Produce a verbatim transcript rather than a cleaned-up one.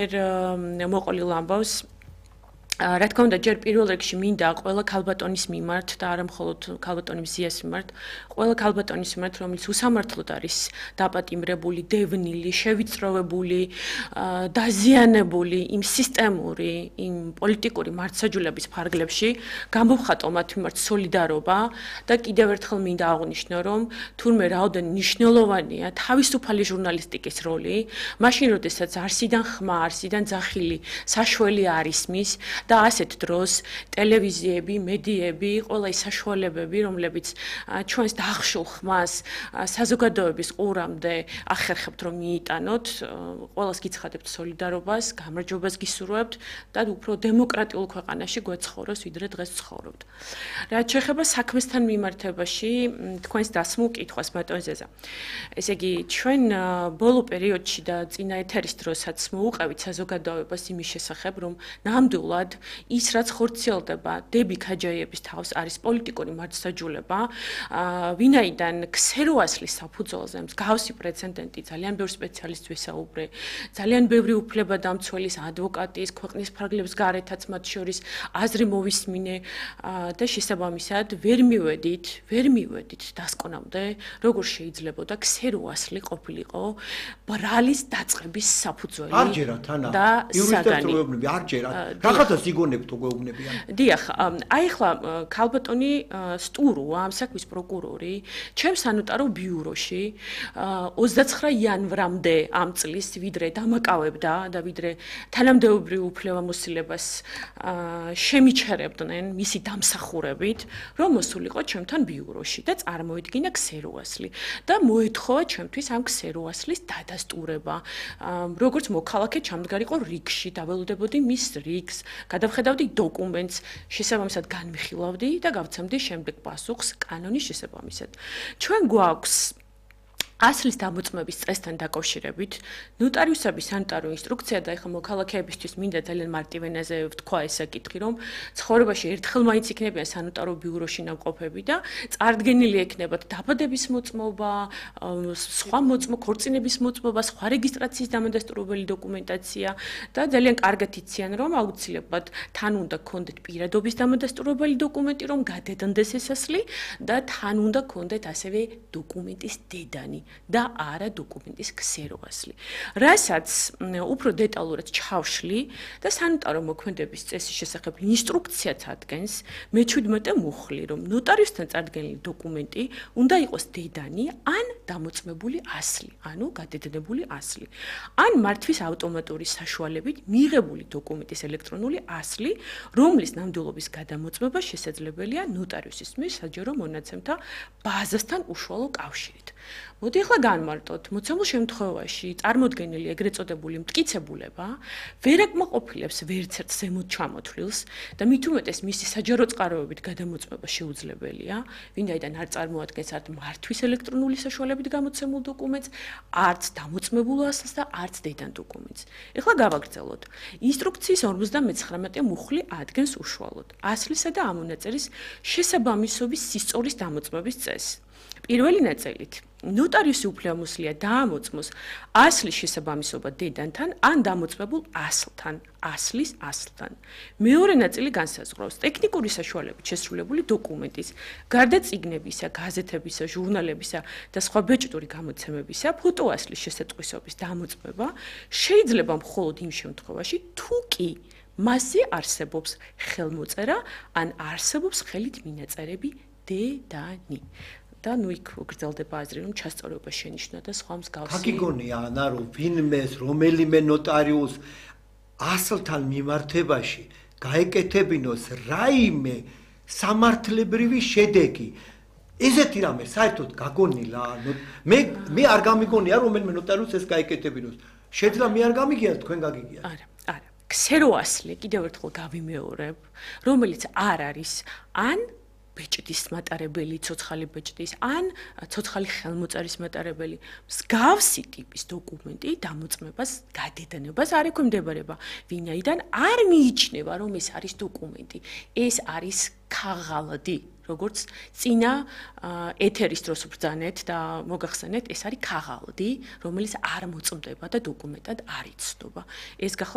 მოყოლილ ამბავს რა თქმა უნდა ჯერ პირველ რიგში მინდა ყველა ქალბატონის მიმართ და არა მხოლოდ ქალბატონის მზიას მიმართ ყველა ქალბატონის მიმართ რომელიც უსამართლოდ არის დაპატიმრებული, დევნილი, შევიწროვებული, დაზიანებული იმ სისტემური, იმ პოლიტიკური მართლმსაჯულების ფარგლებში გამოვხატო მათ მიმართ სოლიდარობა და კიდევ ერთხელ მინდა აღვნიშნო რომ თურმე რაოდენ მნიშვნელოვანია თავისუფალი ჟურნალისტიკის როლი მაშინ როდესაც არსიდან ხმა, არსიდან ძახილი საშველი არ ისმის და ასეთ დროს ტელევიზიები, მედიები, ყველა ის საშუალებები, რომლებიც ჩვენს დახშულ ხმას საზოგადოების ყურამდე ახერხებთ რომ მიიტანოთ, ყველას გიცხადებთ სოლიდარობას, გამარჯვებას გისურვებთ და უფრო დემოკრატიულ ქვეყანაში გვეცხოვროს, ვიდრე დღეს ცხოვრობთ. რაც შეეხება საქმესთან მიმართებაში, თქვენს დასმულ კითხვას ბატონ ზეზა. ესე იგი, ჩვენ ბოლო პერიოდში და წინა ეთერის დროსაც მოუყევით საზოგადოებას იმის შესახებ, რომ ნამდვილად ის რაც ხორციელდება დები ქაჯაიების თავს არის პოლიტიკური მართლმსაჯულება, ვინაიდან ქსეროასლის საფუძველზე მსგავსი პრეცედენტი ძალიან ბევრი სპეციალისტს ვისაუბრე, ძალიან ბევრი უფლებადამცველის, ადვოკატის, ქვეყნის ფარგლებს გარეთაც მათ შორის აზრი მოვისმინე და შესაბამისად ვერ მივედით, ვერ მივედით დასკვნამდე, როგორ შეიძლება ქსეროასლი ყოფილიყო ბრალის დაწყების საფუძველი. არ ჯერათ ანა. იურისტებს როებნები არ ჯერათ. რაღაცა სიგონებთ უგეუბნებიან. დიახ, აი ახლა ქალბატონი სტუროა, ამ საქმის პროკურორი, ჩემს სანოტარო ბიუროში ოცდაცხრა იანვრამდე ამ წლის ვიდრე დამაკავებდა და ვიდრე თანამდებობრივ უფლებამოსილებას შემიჩერებდნენ მისი დამსახურებით, რომ მოსულიყო ჩემთან ბიუროში და წარმოედგინა ქსეროასლი და მოეთხოვა ჩემთვის ამ ქსეროასლის დადასტურება. როგორც მოქალაქე ჩამდგარიყო რიგში, დაველოდებოდი მის რიგს, გადავხედავდი დოკუმენტს, შესაბამისად განვიხილავდი და გავცემდი შემდეგ პასუხს კანონის შესაბამისად. ჩვენ გვაქვს ასლის დამოწმების წესთან დაკავშირებით ნოტარიუსების სანიტარო ინსტრუქცია და ეხლა მოქალაქეებისთვის მინდა ძალიან მარტივ ენაზე ვთქვა ეს საკითხი, რომ ცხოვრებაში ერთხელ მაინც იქნებიან სანიტარო ბიუროში ნამყოფები და წარდგენილი ექნებათ დაბადების მოწმობა, სხვა მოწმობა, ქორწინების მოწმობა, სხვა რეგისტრაციის დამადასტურებელი დოკუმენტაცია და ძალიან კარგად იციან, რომ აუცილებლად თან უნდა გქონდეთ პირადობის დამადასტურებელი დოკუმენტი, რომ გადადანდეს ეს ასლი და თან უნდა გქონდეთ ასევე დოკუმენტის დედანი. და არა დოკუმენტის ქსეროასლი. რასაც უფრო დეტალურად ჩავშლი და სანიტარო მოქმედების წესის შესახებ ინსტრუქციაც ადგენს, მეჩვიდმეტე მუხლი, რომ ნოტარიუსთან წარდგენილი დოკუმენტი უნდა იყოს დედანი ან დამოწმებული ასლი, ანუ გადადებული ასლი. ან მართვის ავტომატური საშუალებით მიღებული დოკუმენტის ელექტრონული ასლი, რომლის ნამდვილობის გადამოწმება შესაძლებელია ნოტარიუსის მიერ საჯარო მონაცემთა ბაზასთან უშუალო კავშირით. მოდი ახლა განმარტოთ, მოცემულ შემთხვევაში წარმოდგენილი ეგრეთ წოდებული მტკიცებულება ვერ აკმაყოფილებს ვერცერთ ზემოთ ჩამოთვლილს და მით უმეტეს მისი საჯარო წყაროებით გადამოწმება შეუძლებელია, ვინაიდან არ წარმოადგენს არც მართვის ელექტრონული საშუალებით გამოცემულ დოკუმენტს, არც დამოწმებულ ასლს და არც დედან დოკუმენტს. ეხლა გავაგრძელოთ. ინსტრუქციის ორმოცდამეცხრამეტე მუხლი ადგენს უშუალოდ ასლისა და ამონაწერის შესაბამისობის სისწორის დამოწმების წესს. პირველი ნაწილით ნოტარიუსი უფლებამოსილია დაამოწმოს ასლის შესაბამისობა დედანთან ან დამოწმებულ ასლთან, ასლის ასლთან. მეორე ნაწილი განსაზღვრავს ტექნიკური საშუალებით შესრულებული დოკუმენტის, გარდა წიგნებისა, გაზეთებისა, ჟურნალებისა და სხვა ბეჭდური გამოცემებისა, ფოტოასლის შესატყვისობის დამოწმება შეიძლება მხოლოდ იმ შემთხვევაში, თუ კი მასზე არსებობს ხელმოწერა ან არსებობს ხელით მინაწერები დედანი. და ნუ იქ გრძელდება აზრი, რომ ჩასწორება შენიშნა და სხვა მსგავსი. გაგიგონია ანა, რომ ვინმეს, რომელიმე ნოტარიუს ასლთან მიმართებაში გაეკეთებინოს რაიმე სამართლებრივი შედეგი. ესეთი რამე საერთოდ გაგონილა, მე მე არ გამიგონია, რომელიმე ნოტარიუს ეს გაეკეთებინოს. შეძლა მე არ გამიგია, თქვენ გაგიგია. არა, არა. ქსეროასლი კიდევ ერთხელ გავიმეორებ, რომელიც არ არის ან ბეჭდის მატარებელი, ცოცხალი ბეჭდის, ან ცოცხალი ხელმოწერის მატარებელი, მსგავსი ტიპის დოკუმენტი დამოწმებას, გადედანებას არ ექვემდებარება, ვინაიდან არ მიიჩნევა, რომ ეს არის დოკუმენტი. ეს არის ქაღალდი, როგორც წინა ეთერის დროს ვბრძანეთ და მოგახსენეთ, ეს არის ქაღალდი, რომელიც არ მოწმდება და დოკუმენტად არ იცნობა. ეს გახდა